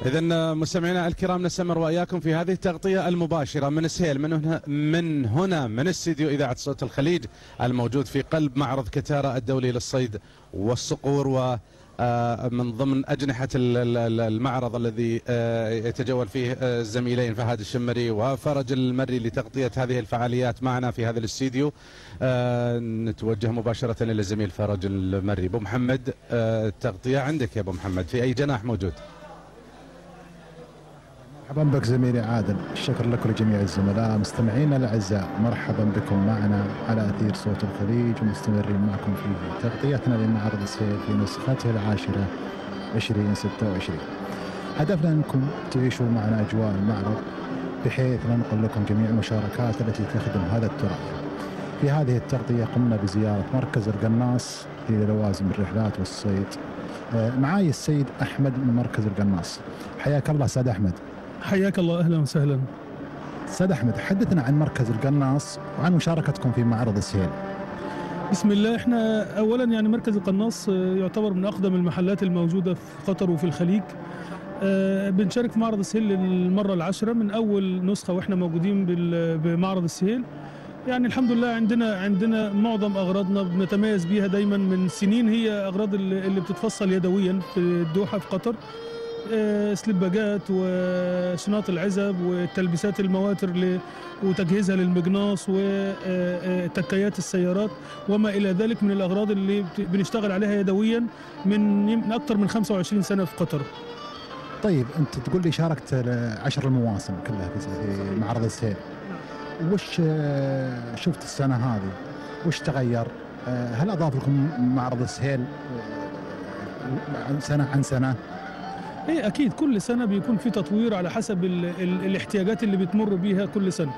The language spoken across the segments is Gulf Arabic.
إذن مستمعينا الكرام نستمر وإياكم في هذه التغطية المباشرة من سهيل من استديو إذاعة صوت الخليج الموجود في قلب معرض كتارا الدولي للصيد والصقور، ومن ضمن أجنحة المعرض الذي يتجول فيه الزميلين فهد الشمري وفرج المري لتغطية هذه الفعاليات معنا في هذا الاستديو. نتوجه مباشرة إلى الزميل فرج المري. أبو محمد، التغطية عندك يا أبو محمد، في أي جناح موجود؟ مرحبا بك زميلي عادل، الشكر لك ولجميع الزملاء مستمعينا الاعزاء، مرحبا بكم معنا على اثير صوت الخليج، ومستمرين معكم في تغطيتنا لمعرض السيل في نسخته العاشره 2026. هدفنا انكم تعيشوا معنا اجواء المعرض بحيث ننقل لكم جميع المشاركات التي تخدم هذا التراث. في هذه التغطيه قمنا بزياره مركز القناص للوازم الرحلات والصيد. معاي السيد احمد من مركز القناص. حياك الله استاذ احمد. حياك الله، اهلا وسهلا. استاذ احمد، حدثنا عن مركز القناص وعن مشاركتكم في معرض السيل. بسم الله. احنا اولا يعني مركز القناص يعتبر من اقدم المحلات الموجوده في قطر وفي الخليج. بنشارك في معرض السيل للمره العاشره من اول نسخه واحنا موجودين بمعرض السيل. يعني الحمد لله عندنا معظم اغراضنا بنتميز بيها دايما من سنين، هي اغراض اللي بتتفصل يدويا في الدوحه في قطر، سلباجات وشناط العزب والتلبيسات المواتر وتجهيزها للمجناص وتكيات السيارات وما إلى ذلك من الأغراض اللي بنشتغل عليها يدويا من أكثر من 25 سنة في قطر. طيب أنت تقول لي شاركت 10 المواسم كلها في معرض السيل، وش شفت السنة هذه؟ وش تغير؟ هل أضاف لكم معرض السيل سنة عن سنة؟ ايه اكيد، كل سنه بيكون في تطوير على حسب الاحتياجات اللي بتمر بيها كل سنه.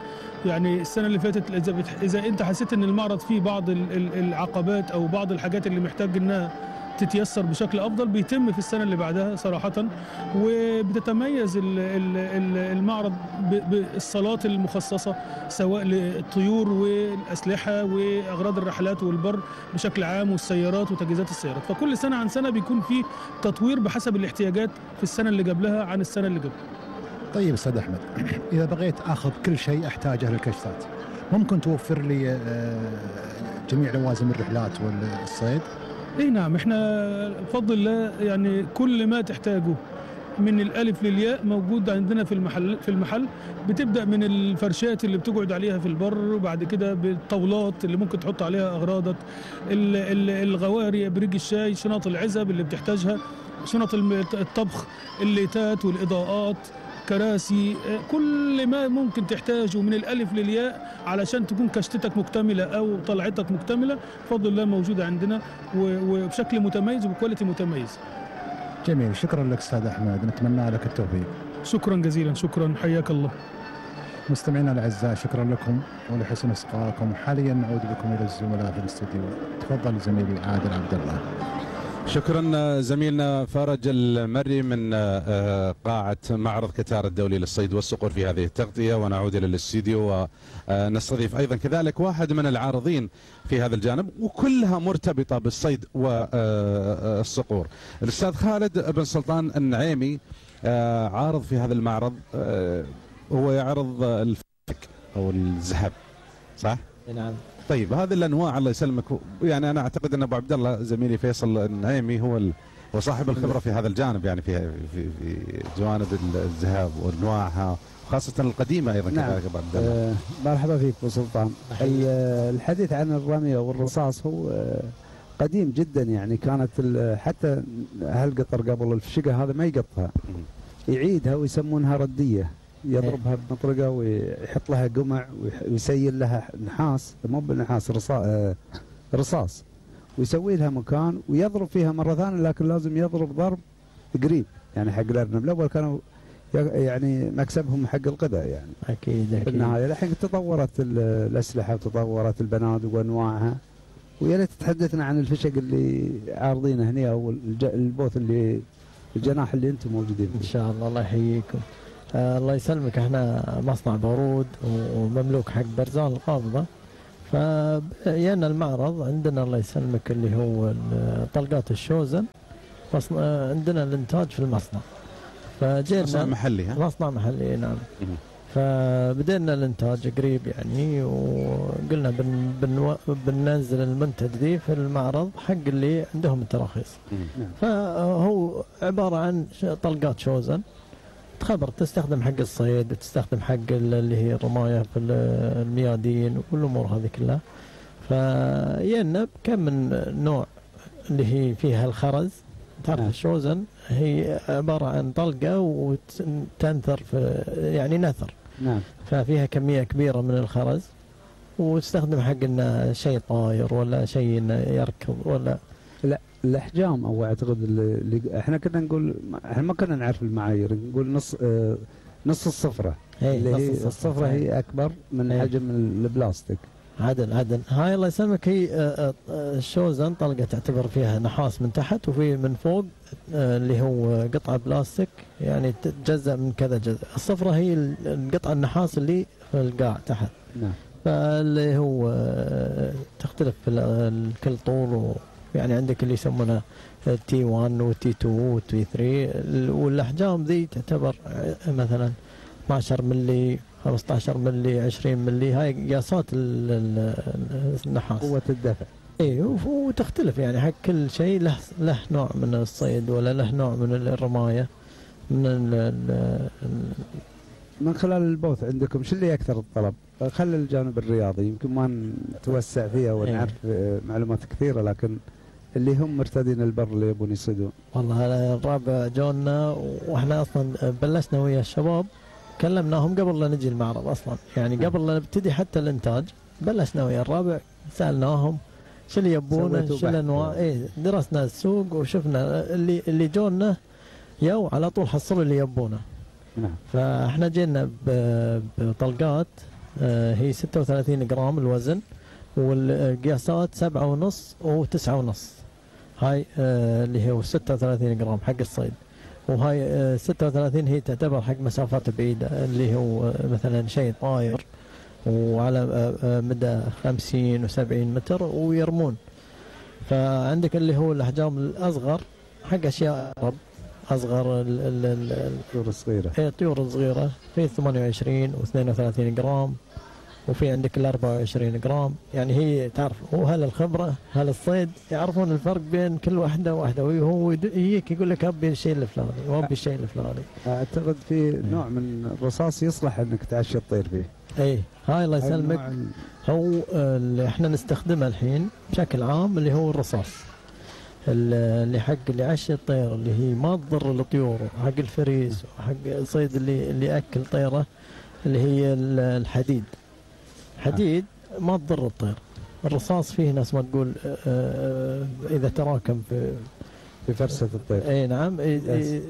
يعني السنه اللي فاتت اذا انت حسيت ان المعرض فيه بعض العقبات او بعض الحاجات اللي محتاج انها تتيسر بشكل افضل، بيتم في السنه اللي بعدها صراحه. وبتتميز المعرض بالصالات المخصصه سواء للطيور والاسلحه واغراض الرحلات والبر بشكل عام والسيارات وتجهيزات السيارات. فكل سنه عن سنه بيكون في تطوير بحسب الاحتياجات في السنه اللي قبلها عن السنه اللي قبلها. طيب استاذ احمد، اذا بغيت اخذ كل شيء احتاجه للكشفات، ممكن توفر لي جميع لوازم الرحلات والصيد؟ اي نعم، احنا بفضل الله يعني كل ما تحتاجه من الالف للياء موجود عندنا في المحل. بتبدا من الفرشات اللي بتقعد عليها في البر، وبعد كده بالطاولات اللي ممكن تحط عليها اغراضك، الغواري، بريق الشاي، شنط العزب اللي بتحتاجها، شنط الطبخ، الليتات والاضاءات، كراسي، كل ما ممكن تحتاجه من الألف للياء علشان تكون كشتتك مكتملة أو طلعتك مكتملة بفضل الله موجودة عندنا وبشكل متميز وبكواليتي متميز. جميل، شكرا لك أستاذ أحمد، نتمنى لك التوفيق. شكرا جزيلا، شكرا، حياك الله. مستمعينا الأعزاء، شكرا لكم ولحسن إصغائكم. حاليا نعود بكم إلى الزملاء في الاستديو. تفضل زميلي عادل عبد الله. شكرا زميلنا فرج المري من قاعة معرض كتارا الدولي للصيد والصقور في هذه التغطية. ونعود إلى الاستديو ونستضيف أيضا كذلك واحد من العارضين في هذا الجانب، وكلها مرتبطة بالصيد والصقور، الأستاذ خالد بن سلطان النعيمي، عارض في هذا المعرض. هو يعرض الفك أو الذهب، صح؟ نعم. طيب هذه الانواع الله يسلمك، يعني انا اعتقد ان ابو عبد الله زميلي فيصل النعيمي هو صاحب الخبره في هذا الجانب، يعني في جوانب الذهب وانواعها خاصه القديمه ايضا. نعم. كذلك ابو عبد الله. مرحبا فيك ابو سلطان. الحديث عن الرمي والرصاص هو قديم جدا، يعني كانت حتى اهل قطر قبل الفشقه هذا ما يقطها، يعيدها ويسمونها رديه، يضربها بمطرقه ويحط لها قمع ويسيل لها نحاس، مو بالنحاس، رصاص، ويسوي لها مكان ويضرب فيها مره ثانيه، لكن لازم يضرب ضرب قريب يعني حق الارنب. الاول كانوا يعني مكسبهم حق القذى يعني. اكيد في النهايه الحين تطورت الاسلحه وتطورت البنادق وانواعها. ويا ريت تحدثنا عن الفشق اللي عارضينه هنا او البوث اللي الجناح اللي انتم موجودين فيه. ان شاء الله، الله يحييكم. الله يسلمك، احنا مصنع بارود ومملوك حق برزان القابضه، فجينا المعرض عندنا الله يسلمك اللي هو طلقات الشوزن، عندنا الانتاج في المصنع. فجينا مصنع محلي ها؟ مصنع محلي نعم. فبدأنا الانتاج قريب يعني، وقلنا بننزل المنتج دي في المعرض حق اللي عندهم التراخيص. فهو عبارة عن طلقات شوزن تخبر تستخدم حق الصيد وتستخدم حق اللي هي الرماية في الميادين والأمور هذه كلها. فينا كم من نوع اللي هي فيها الخرز. تعرف الشوزن هي عبارة عن طلقة وتنثر في يعني نثر. نعم. ففيها كمية كبيرة من الخرز، وتستخدم حق انه شيء طاير ولا شيء انه يركض ولا لا الاحجام، او اعتقد اللي احنا كنا نقول، احنا ما كنا نعرف المعايير، نقول نص الصفرة. اللي هي الصفرة هي اكبر من حجم البلاستيك. عدل هاي الله يسلمك. هي الشوزن طلقة تعتبر فيها نحاس من تحت وفي من فوق اللي هو قطعة بلاستيك يعني تتجزأ من كذا جزء. الصفرة هي القطعة النحاس اللي في القاع تحت. نعم. فاللي هو تختلف في كل طول، يعني عندك اللي يسمونه تي 1 وتي 2 وتي 3، والاحجام ذي تعتبر مثلا 12 ملي 15 ملي 20 ملي، هاي قياسات النحاس قوة الدفع. اي وتختلف يعني حق كل شيء له نوع من الصيد ولا له نوع من الرماية من خلال البوث عندكم شو اللي اكثر الطلب؟ خلي الجانب الرياضي يمكن ما نتوسع فيها ونعرف معلومات كثيرة، لكن اللي هم مرتدين البر اللي يبون يصيدون. والله الرابع جونا، واحنا اصلا بلشنا ويا الشباب كلمناهم قبل لا نجي المعرض اصلا، يعني قبل لا نبتدي حتى الانتاج بلشنا ويا الرابع سالناهم شو اللي يبونه شو الانواع. درسنا السوق وشفنا اللي جونا يو على طول حصلوا اللي يبونه. نعم. فاحنا جينا بطلقات هي 36 جرام الوزن، والقياسات 7.5 و9.5. هاي اللي هو 36 جرام حق الصيد، وهاي 36 هي تعتبر حق مسافات بعيدة اللي هو مثلا شيء طاير وعلى مدى 50 و70 متر ويرمون. فعندك اللي هو الأحجام الأصغر حق أشياء أصغر الطيور الصغيرة. الطيور الصغيرة في 28 و32 جرام، وفي عندك ال 24 جرام. يعني هي تعرف هو هل الخبرة هل الصيد يعرفون الفرق بين كل واحدة وهو يجيك يقول لك أبي الشيء الفلاني وأبي الشيء الفلاني. أعتقد في نوع من الرصاص يصلح أنك تعشي الطير فيه. إيه هاي الله يسلمك. هو اللي احنا نستخدمه الحين بشكل عام اللي هو الرصاص اللي حق اللي عشي الطير اللي هي ما تضر الطيور، حق الفريس وحق الصيد اللي يأكل طيره، اللي هي الحديد. حديد ما تضر الطير. الرصاص فيه ناس ما تقول إذا تراكم في فرسة الطير. اي نعم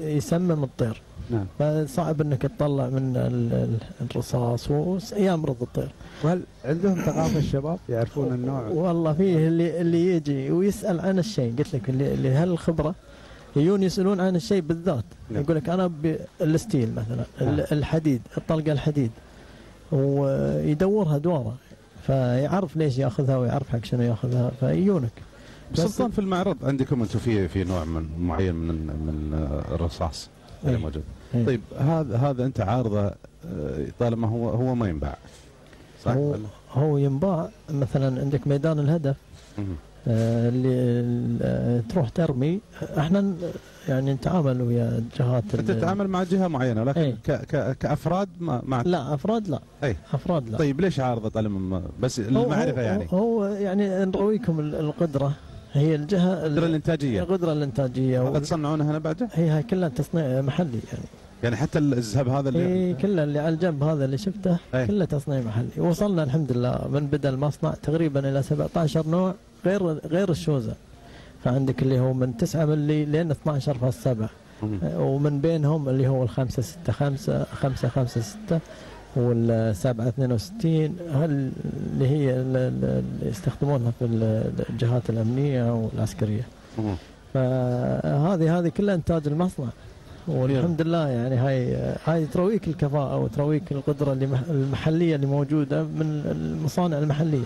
يسمم الطير. نعم. فصعب انك تطلع من الرصاص ويمرض الطير. وهل عندهم ثقافة الشباب يعرفون النوع؟ والله فيه اللي يجي ويسأل عن الشيء، قلت لك اللي هالخبرة يجون يسألون عن الشيء بالذات. نعم. يقول لك انا بالستيل مثلا. نعم. الحديد، الطلقة الحديد، ويدورها دوره فيعرف ليش ياخذها ويعرف حق شنو ياخذها فيجونك. سلطان في المعرض عندكم انتم في نوع معين من الرصاص اللي موجود. طيب هذا انت عارضه طالما هو ما ينباع صح؟ هو ينباع مثلا عندك ميدان الهدف اللي تروح ترمي. احنا يعني نتعامل ويا جهات. انت تتعامل مع جهه معينه لكن كافراد ما لا افراد لا. افراد لا. طيب ليش عارضه طالما بس المعرفه يعني؟ هو يعني نرويكم القدره هي الجهه القدره الانتاجيه هذا تصنعونها هنا بعده؟ هي كلها تصنيع محلي يعني حتى الذهب هذا اللي كله اللي على الجنب هذا اللي شفته كله تصنيع محلي. وصلنا الحمد لله من بدا المصنع تقريبا الى 17 نوع غير الشوزة. فعندك اللي هو من 9 ملي لين 12.7 ومن بينهم اللي هو ال5 6 5 5 5 6 وال7 62 اللي هي اللي يستخدمونها في الجهات الأمنية والعسكرية. فهذه كلها إنتاج المصنع والحمد لله. يعني هاي ترويك الكفاءة وترويك القدرة المحلية اللي موجودة من المصانع المحلية.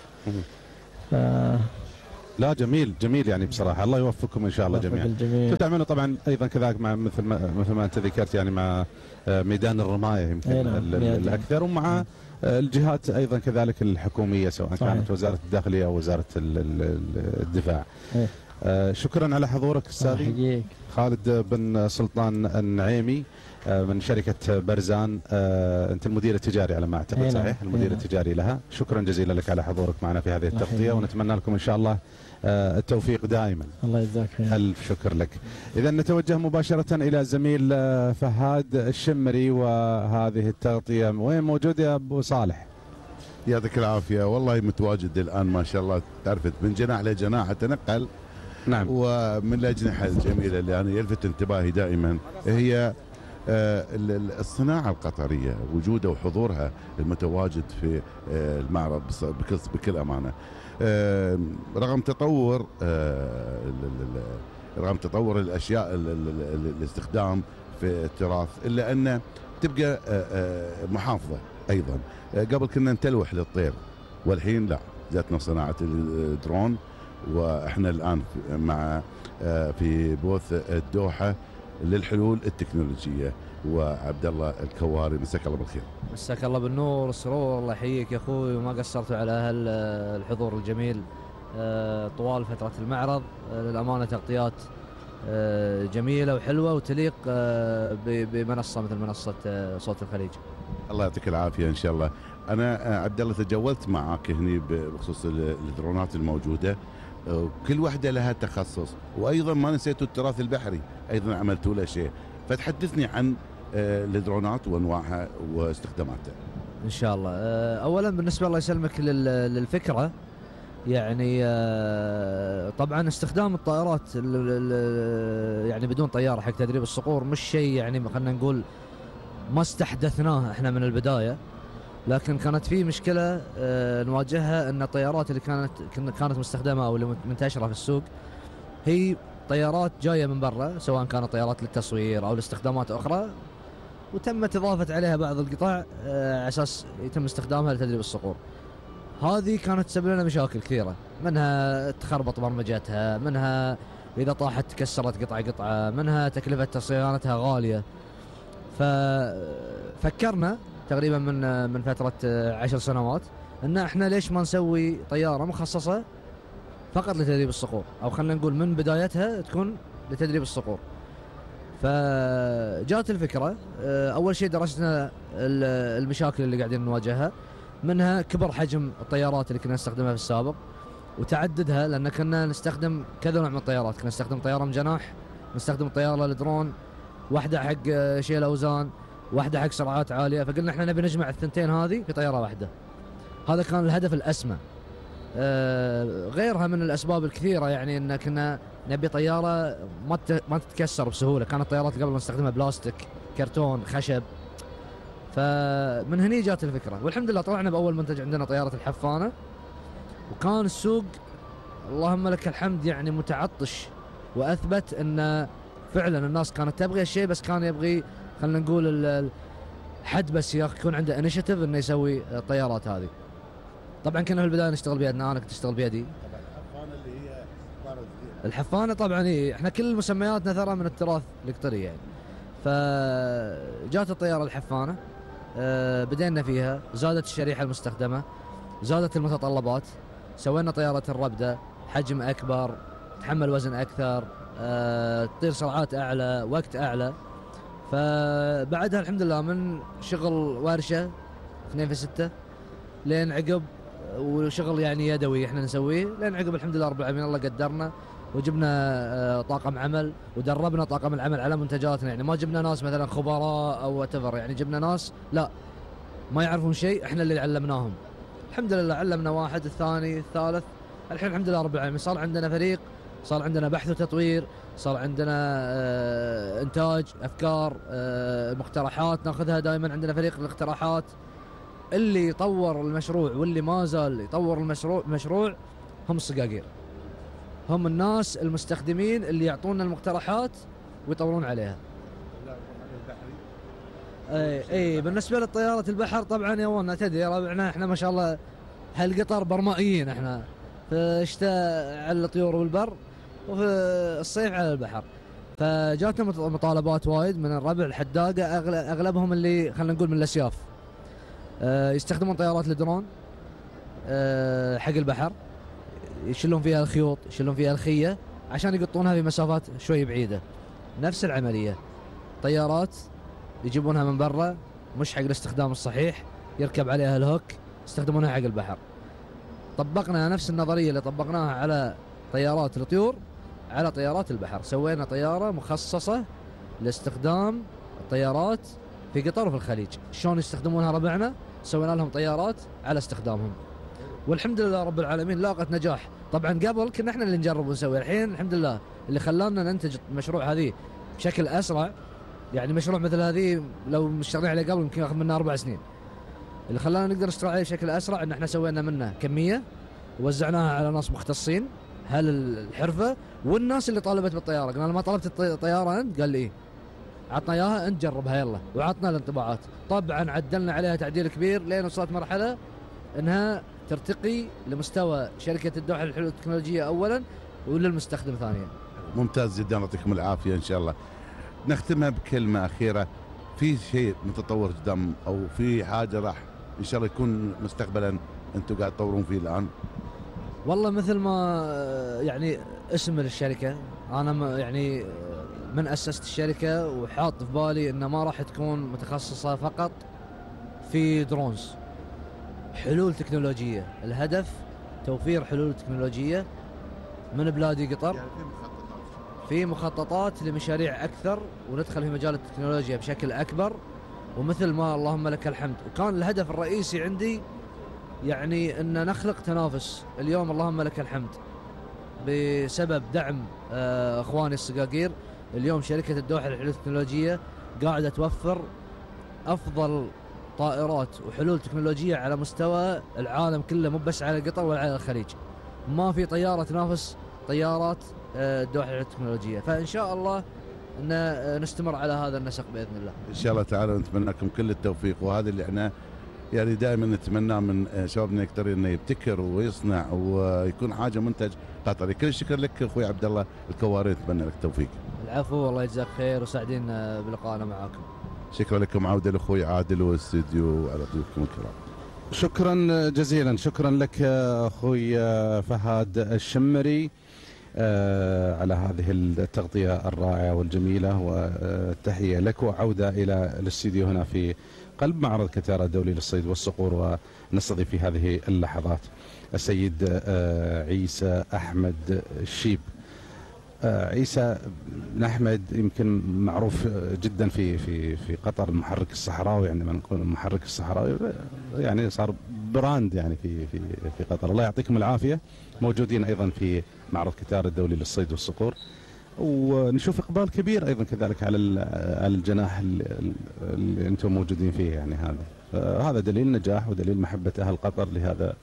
لا جميل جميل يعني بصراحه الله يوفقكم ان شاء الله جميعا. الجميع. تعملوا طبعا ايضا كذلك مع مثل ما انت ذكرت يعني مع ميدان الرمايه يمكن الاكثر، ومع الجهات ايضا كذلك الحكوميه سواء كانت وزاره الداخليه او وزاره الدفاع. شكرا على حضورك استاذي خالد بن سلطان النعيمي من شركة برزان. أنت المدير التجاري على ما أعتقد صحيح؟ المدير التجاري لها. شكرا جزيلا لك على حضورك معنا في هذه التغطية، ونتمنى لكم إن شاء الله التوفيق دائما. الله يجزاك خير. ألف شكر لك. إذا نتوجه مباشرة إلى زميل فهد الشمري وهذه التغطية. وين موجود يا أبو صالح؟ يعطيك العافية. والله متواجد الآن ما شاء الله، تعرفت من جناح لجناح أتنقل. نعم. ومن الأجنحة الجميلة اللي أنا يلفت انتباهي دائما هي الصناعة القطرية، وجودها وحضورها المتواجد في المعرض بكل أمانة. رغم تطور الأشياء الاستخدام في التراث، إلا أن تبقى محافظة أيضا. قبل كنا نتلوح للطير، والحين لا، جاتنا صناعة الدرون، وإحنا الآن في بوث الدوحة للحلول التكنولوجية. وعبد الله الكواري، مساك الله بالخير. مساك الله بالنور والسرور، الله يحييك يا اخوي، وما قصرتوا على الحضور الجميل طوال فترة المعرض. للأمانة تغطيات جميلة وحلوة وتليق بمنصة مثل منصة صوت الخليج. الله يعطيك العافية إن شاء الله. أنا عبد الله تجولت معك هني بخصوص الدرونات الموجودة، كل واحدة لها تخصص، وأيضا ما نسيتوا التراث البحري أيضا عملتوا له شيء، فتحدثني عن الدرونات وأنواعها واستخداماتها. إن شاء الله. أولا بالنسبة الله يسلمك للفكرة، يعني طبعا استخدام الطائرات يعني بدون طيارة حق تدريب الصقور مش شيء يعني خلينا نقول ما استحدثناه احنا من البداية، لكن كانت في مشكلة نواجهها، ان الطيارات اللي كانت مستخدمة او اللي منتشرة في السوق هي طيارات جاية من برا، سواء كانت طيارات للتصوير او لاستخدامات اخرى، وتمت اضافة عليها بعض القطع على اساس يتم استخدامها لتدريب الصقور. هذه كانت تسبب لنا مشاكل كثيرة، منها تخربط برمجتها، منها اذا طاحت تكسرت قطعة، منها تكلفة صيانتها غالية. ففكرنا تقريبا من فترة 10 سنوات ان احنا ليش ما نسوي طيارة مخصصة فقط لتدريب الصقور، او خلينا نقول من بدايتها تكون لتدريب الصقور. فجاءت الفكرة. اول شيء درسنا المشاكل اللي قاعدين نواجهها، منها كبر حجم الطيارات اللي كنا نستخدمها في السابق وتعددها، لان كنا نستخدم كذا نوع من الطيارات، كنا نستخدم طيارة من جناح، نستخدم طيارة للدرون، واحدة حق شيل اوزان، واحدة حق سرعات عالية. فقلنا احنا نبي نجمع الثنتين هذه في طيارة واحدة. هذا كان الهدف الأسمى. غيرها من الأسباب الكثيرة، يعني ان كنا نبي طيارة ما تتكسر بسهولة. كانت الطيارات قبل نستخدمها بلاستيك، كرتون، خشب. فمن هني جات الفكرة، والحمد لله طلعنا بأول منتج عندنا طيارة الحفانة، وكان السوق اللهم لك الحمد يعني متعطش، وأثبت ان فعلا الناس كانت تبغي الشيء، بس كان يبغي خلينا نقول حد بس يكون عنده انيشيتيف انه يسوي الطيارات هذه. طبعا كنا في البدايه نشتغل بيدنا، انا كنت اشتغل بيدي. الحفانه اللي هي الحفانه طبعا احنا كل مسمياتنا ترى من التراث القطري يعني. فجات الطياره الحفانه، بدينا فيها، زادت الشريحه المستخدمه، زادت المتطلبات، سوينا طياره الربده، حجم اكبر، تحمل وزن اكثر، تطير سرعات اعلى، وقت اعلى. فبعدها الحمد لله من شغل ورشه 2 في 6 لين عقب، وشغل يعني يدوي احنا نسويه، لين عقب الحمد لله رب العالمين الله قدرنا وجبنا طاقم عمل ودربنا طاقم العمل على منتجاتنا. يعني ما جبنا ناس مثلا خبراء او whatever، يعني جبنا ناس لا ما يعرفون شيء، احنا اللي علمناهم. الحمد لله علمنا واحد، الثاني، الثالث، الحين الحمد لله رب العالمين صار عندنا فريق، صار عندنا بحث وتطوير، صار عندنا انتاج افكار، مقترحات ناخذها دائما. عندنا فريق الاقتراحات اللي يطور المشروع واللي ما زال يطور المشروع هم الصقاقير، هم الناس المستخدمين اللي يعطونا المقترحات ويطورون عليها. اي بالنسبه للطياره البحر طبعا يا وانا تدري ربعنا احنا ما شاء الله هالقطر برمائيين احنا، في الشتاء على الطيور والبر، وفي الصيف على البحر. فجاتنا مطالبات وايد من الربع الحداقة، أغلبهم اللي خلينا نقول من الأسياف، يستخدمون طيارات الدرون حق البحر، يشيلون فيها الخيوط، يشيلون فيها الخية عشان يقطونها في مسافات شوي بعيدة. نفس العملية، طيارات يجيبونها من برا مش حق الاستخدام الصحيح، يركب عليها الهوك، يستخدمونها حق البحر. طبقنا نفس النظرية اللي طبقناها على طيارات الطيور على طيارات البحر. سوينا طيارة مخصصة لاستخدام الطيارات في قطر وفي الخليج. شلون يستخدمونها ربعنا، سوينا لهم طيارات على استخدامهم، والحمد لله رب العالمين لاقت نجاح. طبعا قبل كنا احنا اللي نجرب ونسوي، الحين الحمد لله اللي خلانا ننتج المشروع هذه بشكل اسرع. يعني مشروع مثل هذه لو مشتغلين عليه قبل يمكن ياخذ منا 4 سنين. اللي خلانا نقدر نشتغل عليه بشكل اسرع ان احنا سوينا منه كميه ووزعناها على ناس مختصين هل الحرفه، والناس اللي طالبت بالطياره. قلنا ما طلبت الطياره انت؟ قال لي ايه، عطنا اياها انت جربها يلا، وعطنا الانطباعات. طبعا عدلنا عليها تعديل كبير لين وصلت مرحله انها ترتقي لمستوى شركه الدوحه للحلول التكنولوجيه اولا وللمستخدم ثانيا. ممتاز جدا، يعطيكم العافيه ان شاء الله. نختمها بكلمه اخيره، في شيء متطور قدام او في حاجه راح ان شاء الله يكون مستقبلا انتم قاعد تطورون فيه الان؟ والله مثل ما يعني اسم الشركه، انا يعني من اسست الشركه وحاط في بالي انه ما راح تكون متخصصه فقط في درونز، حلول تكنولوجيه. الهدف توفير حلول تكنولوجيه من بلادي قطر، في مخططات لمشاريع اكثر وندخل في مجال التكنولوجيا بشكل اكبر. ومثل ما اللهم لك الحمد، وكان الهدف الرئيسي عندي يعني ان نخلق تنافس. اليوم اللهم لك الحمد بسبب دعم اخواني الصقاقير، اليوم شركه الدوحه للحلول التكنولوجيه قاعده توفر افضل طائرات وحلول تكنولوجيه على مستوى العالم كله، مو بس على قطر ولا على الخليج. ما في طياره تنافس طيارات الدوحه للحلول التكنولوجيه، فان شاء الله ان نستمر على هذا النسق باذن الله. ان شاء الله تعالى نتمنى لكم كل التوفيق، وهذا اللي احنا يعني دائما نتمناه من شبابنا يقدر انه يبتكر ويصنع ويكون حاجه منتج قطري. كل الشكر لك اخوي عبد الله الكواري، نتمنى لك التوفيق. العفو، والله يجزاك خير وسعدين بلقائنا معاكم. شكرا لكم. عوده لاخوي عادل والاستديو على ضيوفكم الكرام. شكرا جزيلا، شكرا لك اخوي فهد الشمري على هذه التغطيه الرائعه والجميله، والتحيه لك وعوده الى الاستديو هنا في قلب معرض كتارا الدولي للصيد والصقور. ونستضيف في هذه اللحظات السيد عيسى أحمد الشيب. عيسى بن أحمد يمكن معروف جدا في قطر، المحرك الصحراوي. عندما نقول المحرك الصحراوي يعني صار براند يعني في قطر. الله يعطيكم العافية. موجودين أيضا في معرض كتارا الدولي للصيد والصقور، ونشوف إقبال كبير أيضا كذلك على الجناح اللي أنتم موجودين فيه. يعني هذا دليل نجاح ودليل محبة أهل قطر لهذا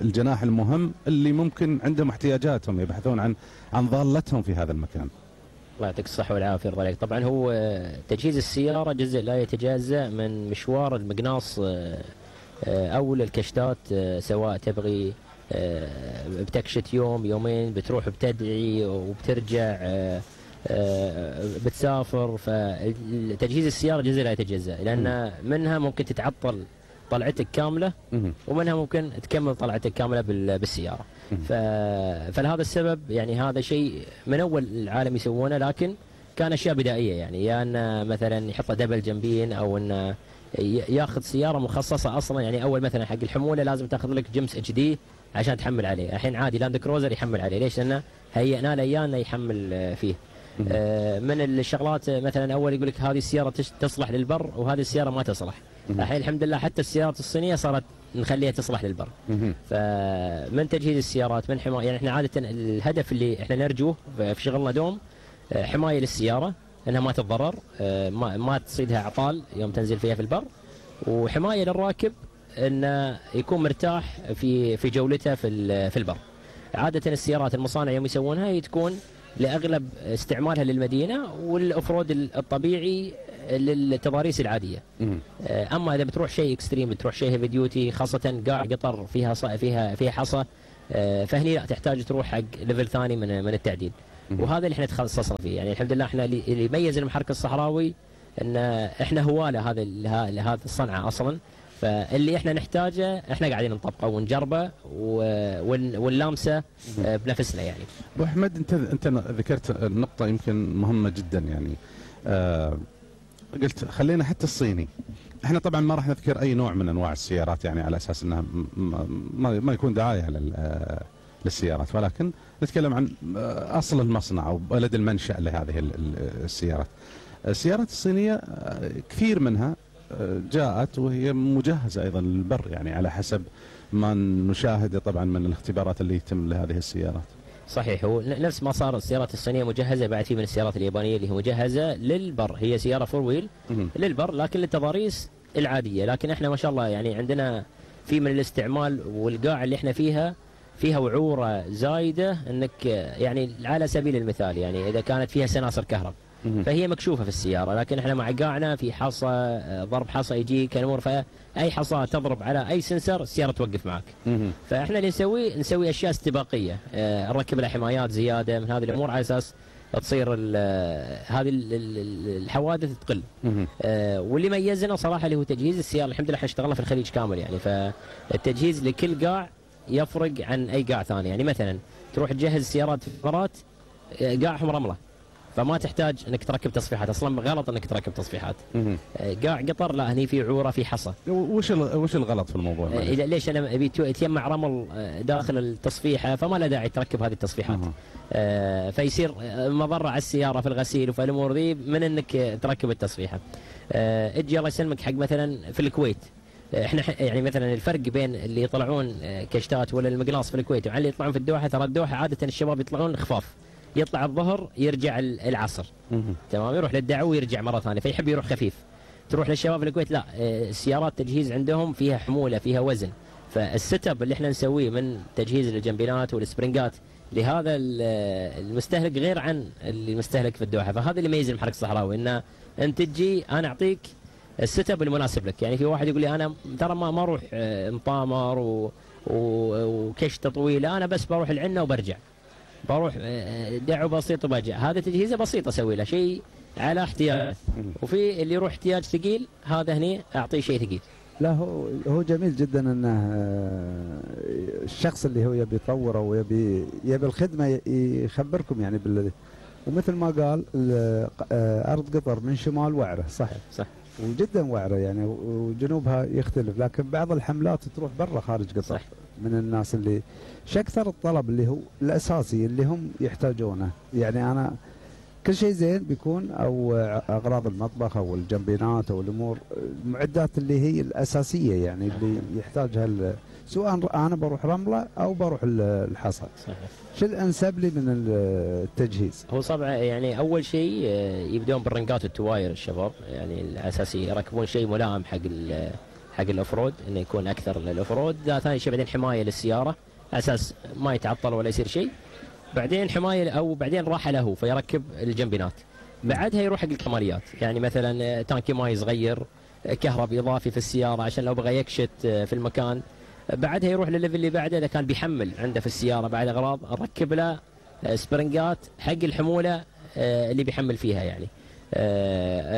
الجناح المهم اللي ممكن عندهم احتياجاتهم، يبحثون عن ضالتهم في هذا المكان. الله يعطيك الصحة والعافية يرضى عليك. طبعا هو تجهيز السيارة جزء لا يتجزأ من مشوار المقناص أو الكشتات، سواء تبغي بتكشت يوم يومين، بتروح بتدعي وبترجع بتسافر. فتجهيز السيارة جزء لا يتجزأ، لأن منها ممكن تتعطل طلعتك كاملة، ومنها ممكن تكمل طلعتك كاملة بالسيارة. فلهذا السبب يعني هذا شيء من أول العالم يسوونه، لكن كان أشياء بدائية. يعني يا أن مثلا يحط دبل جنبين، أو أن ياخذ سيارة مخصصة أصلا. يعني أول مثلا حق الحمولة لازم تاخذ لك جيمس HD عشان تحمل عليه. الحين عادي لاند كروزر يحمل عليه. ليش؟ لأنه هيئنا له إياه إنه يحمل فيه. من الشغلات مثلا أول يقول لك هذه السيارة تصلح للبر وهذه السيارة ما تصلح. الحين الحمد لله حتى السيارات الصينية صارت نخليها تصلح للبر. فمن تجهيز السيارات، من حماية. يعني احنا عادة الهدف اللي احنا نرجوه في شغلنا دوم حماية للسيارة، انها ما تتضرر، ما تصيدها اعطال يوم تنزل فيها في البر، وحماية للراكب انه يكون مرتاح في جولته في البر. عادة السيارات المصانع يوم يسوونها تكون لأغلب استعمالها للمدينة، والأفرود الطبيعي للتضاريس العاديه. اما اذا بتروح شيء اكستريم، بتروح شيء هيفي ديوتي، خاصه قاع قطر فيها حصى، فهني لا تحتاج تروح حق ليفل ثاني من التعديل. وهذا اللي احنا تخصصنا فيه. يعني الحمد لله احنا اللي يميز المحرك الصحراوي ان احنا هواه لهذا الصنعه اصلا، فاللي احنا نحتاجه احنا قاعدين نطبقه ونجربه ونلامسه بنفسنا يعني. ابو احمد، انت ذكرت نقطه يمكن مهمه جدا يعني. قلت خلينا حتى الصيني. احنا طبعا ما راح نذكر اي نوع من انواع السيارات يعني على اساس انها ما يكون دعايه للسيارات، ولكن نتكلم عن اصل المصنع او بلد المنشأ لهذه السيارات. السيارات الصينيه كثير منها جاءت وهي مجهزه ايضا للبر، يعني على حسب ما نشاهد طبعا من الاختبارات اللي يتم لهذه السيارات. صحيح، هو نفس ما صار السيارات الصينيه مجهزه، بعد في من السيارات اليابانيه اللي هي مجهزه للبر، هي سياره فور ويل للبر لكن للتضاريس العاديه. لكن احنا ما شاء الله يعني عندنا في من الاستعمال، والقاع اللي احنا فيها وعوره زايده، انك يعني على سبيل المثال يعني اذا كانت فيها سناصر كهرب فهي مكشوفه في السياره، لكن احنا مع قاعنا في حصى، ضرب حصى يجيك الامور، فاي حصى تضرب على اي سنسر السياره توقف معك. فاحنا اللي نسوي اشياء استباقيه، نركب لها حمايات زياده من هذه الامور على اساس تصير هذه الحوادث تقل. واللي ميزنا صراحه اللي هو تجهيز السياره. الحمد لله احنا اشتغلنا في الخليج كامل يعني، فالتجهيز لكل قاع يفرق عن اي قاع ثاني. يعني مثلا تروح تجهز سيارات في الامارات قاعهم رمله، فما تحتاج انك تركب تصفيحات، اصلا غلط انك تركب تصفيحات. قاع قطر لا، هني في عوره، في حصى. وش الغلط في الموضوع؟ ليش انا ابي يتجمع رمل داخل التصفيحه، فما له داعي تركب هذه التصفيحات. فيصير مضره على السياره في الغسيل وفي الامور ذي من انك تركب التصفيحه. اجي الله يسلمك حق مثلا في الكويت، احنا يعني مثلا الفرق بين اللي يطلعون كشتات ولا المقلاص في الكويت وعلى اللي يطلعون في الدوحه، ترى الدوحه عاده الشباب يطلعون خفاف، يطلع الظهر يرجع العصر، تمام، يروح للدعوه ويرجع مره ثانيه، فيحب يروح خفيف. تروح للشباب الكويت لا، السيارات تجهيز عندهم فيها حموله، فيها وزن، فالسيت اب اللي احنا نسويه من تجهيز الجنبينات والسبرنجات لهذا المستهلك غير عن اللي مستهلك في الدوحه. فهذا اللي يميز المحرك الصحراوي، انه انت تجي انا اعطيك السيت اب المناسب لك. يعني في واحد يقول لي انا ترى ما اروح مطامر وكشته طويله، انا بس بروح العنه وبرجع، بروح دعوه بسيط وبرجع. هذا تجهيزه بسيطه اسوي له شيء على احتياج. وفي اللي يروح احتياج ثقيل، هذا هني اعطيه شيء ثقيل. لا هو جميل جدا انه الشخص اللي هو يبي يطور او يبي الخدمه يخبركم يعني بالذي. ومثل ما قال ارض قطر من شمال وعره، صح وجدا وعره يعني، وجنوبها يختلف، لكن بعض الحملات تروح برا خارج قطر صح. من الناس اللي اكثر الطلب اللي هو الاساسي اللي هم يحتاجونه. يعني انا كل شيء زين بيكون، او اغراض المطبخ او الجنبينات او الامور المعدات اللي هي الاساسيه يعني اللي يحتاجها، سواء انا بروح رمله او بروح الحصى. شو الانسب لي من التجهيز؟ هو طبعا يعني اول شيء يبدون بالرنقات والتواير الشباب، يعني الاساسي يركبون شيء ملائم حق الافرود، انه يكون اكثر للافرود. ثاني شيء بعدين حمايه للسياره على اساس ما يتعطل ولا يصير شيء. بعدين حمايه او بعدين راحه له فيركب الجنبينات. بعدها يروح حق الكماليات، يعني مثلا تانكي ماي صغير، كهرب اضافي في السياره عشان لو بغى يكشت في المكان. بعدها يروح للليفل اللي بعده اذا كان بيحمل عنده في السياره بعد اغراض، نركب له سبرنجات حق الحموله اللي بيحمل فيها. يعني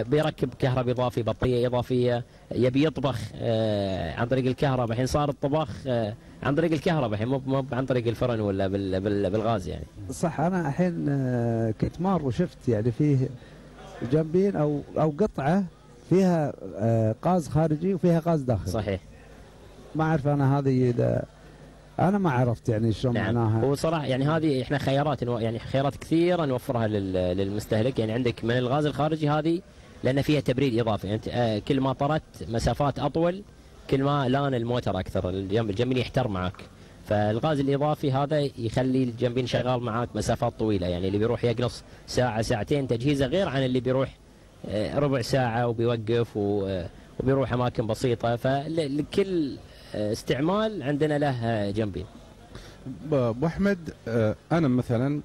بيركب كهرب اضافي، بطاريه اضافيه، يبي يطبخ عن طريق الكهرباء. الحين صار الطبخ عن طريق الكهرباء، الحين مو عن طريق الفرن ولا بالغاز يعني. صح. انا الحين كنت مار وشفت يعني فيه جنبين او قطعه فيها غاز خارجي وفيها غاز داخلي. صحيح. ما اعرف انا هذه اذا انا ما عرفت يعني شلون معناها. هو صراحه يعني هذه احنا خيارات كثيره نوفرها للمستهلك. يعني عندك من الغاز الخارجي هذه لان فيها تبريد اضافي، يعني انت كل ما طرت مسافات اطول كل ما لان الموتر اكثر، الجنبين يحتر معك. فالغاز الاضافي هذا يخلي الجنبين شغال معك مسافات طويله، يعني اللي بيروح يقنص ساعه ساعتين تجهيزه غير عن اللي بيروح ربع ساعه وبيوقف وبيروح اماكن بسيطه. فلكل استعمال عندنا له جنبين. ابو احمد، انا مثلا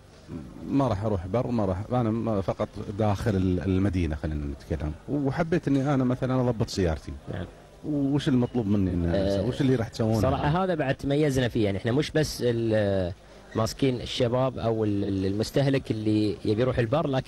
ما راح اروح بر، ما راح، انا فقط داخل المدينه خلينا نتكلم، وحبيت اني انا مثلا اضبط سيارتي. نعم. وش المطلوب مني ان وش اللي راح تسوونه؟ صراحه هذا بعد تميزنا فيه، يعني احنا مش بس ماسكين الشباب او المستهلك اللي يبي يروح البر، لكن